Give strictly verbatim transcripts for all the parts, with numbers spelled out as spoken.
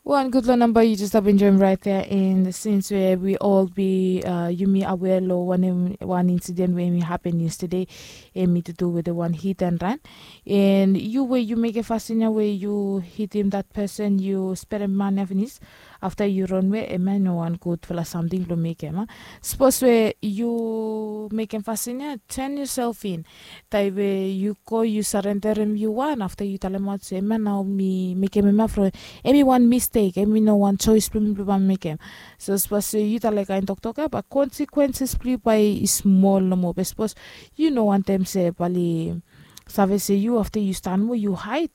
Wan gutpela namba yu jes stap enjoim rait ya, and sins we wi ol bi uh, yumi awea long wanem wan insiden we mi hapen yestede, em i tutu wetem wan hit and ran. And yu we yu mekem fasin ya we yu hitim dat person, yu sperem man ya finis, afta yu ronwe, em ya i no wan gutpela samting blong mekem a. Sapos we yu mekem fasin ya, ten yusel in. Taim we yu go yu sarenderem yu wan, afta yu talemaot se em ya nao mi mekem em ya from, em i wan mistek, em i no wan chois blong mi blong bae mi mekem. So sapos se yu talem kain toktok ya, bae konsekuenses blong yu bae i smol nomo. Be sapos yu no wantem se bae oli save se yu, afta yu stan moa yu haid,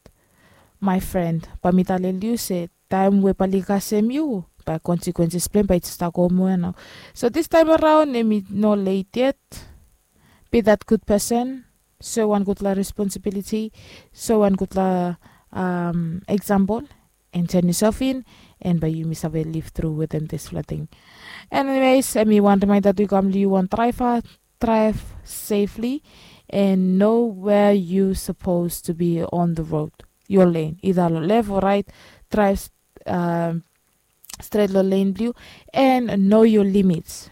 my friend, bae mi talel yu se taim we bae oli kasem yu, bae konsekuenses blong em bae i stap go moa ya nao. So distaim araon em i no leit yet. Be that good person, so wan gutpela responsibility, so wan gutpela um, example, and turn yourself in, and bae yumi save live through wetem dispela ting. Anyways, em i wan reminder tu i kam long yu wan driver, drive safely and know where you supposed to be on the road, your lane, either long left or right. Drive um, stret long lane blong yu, and know your limits.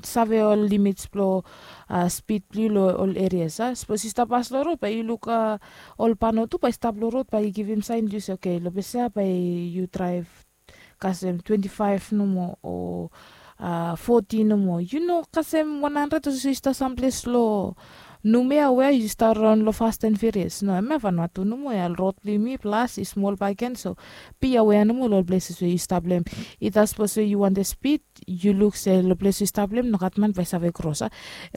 Save ol limits blong uh, speed blong yu long ol areas a. Sapos yu stap pas long rod, bae yu luk uh, ol pano tu bae i stap long rod, bae i givim sain blong yu se okay, long ples ya bae yu drive kasem twenty-five nomo o uh, forty nomo. Yu no kasem one hundred, olsem yu stap samples long Numea wea yu stap raon long Fast and Furious. No, em ya Vanuatu nomo ya, rod blong yumi, plas i smol bakegen, so be aware nomo long ol places we yu stap long em. Ita sapos we yu wantem speed, yu luk se long ples yu stap long em nogat man bae i save kros a.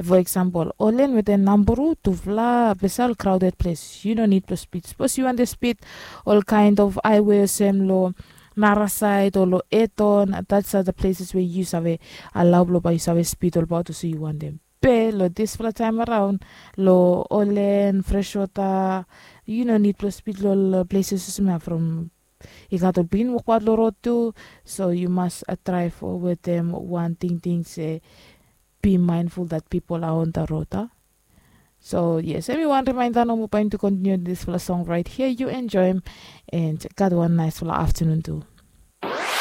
For example, Olen wetem Namburu, tufala ples ya ol crowded ples, yu no nid blong speed. Sapos yu wantem speed, ol kind of highway olsem long narasaed o long eton, that's are the places we yu save alau blong bae yu save speed olbaot olsem yu wantem. Be long dispela taim araon, long Olen, Freshwater, yu no nid blong speed long ol places olsem ya, from i gat ol pikinini wokbaot long rod tu. So yu mas uh, drive wetem wan tingting se be mindful that people are on the road a. So yes, em i wan reminder nomo, bae mi tu continue dispela song right here, yu enjoim, and gat wan naisfala afternoon tu.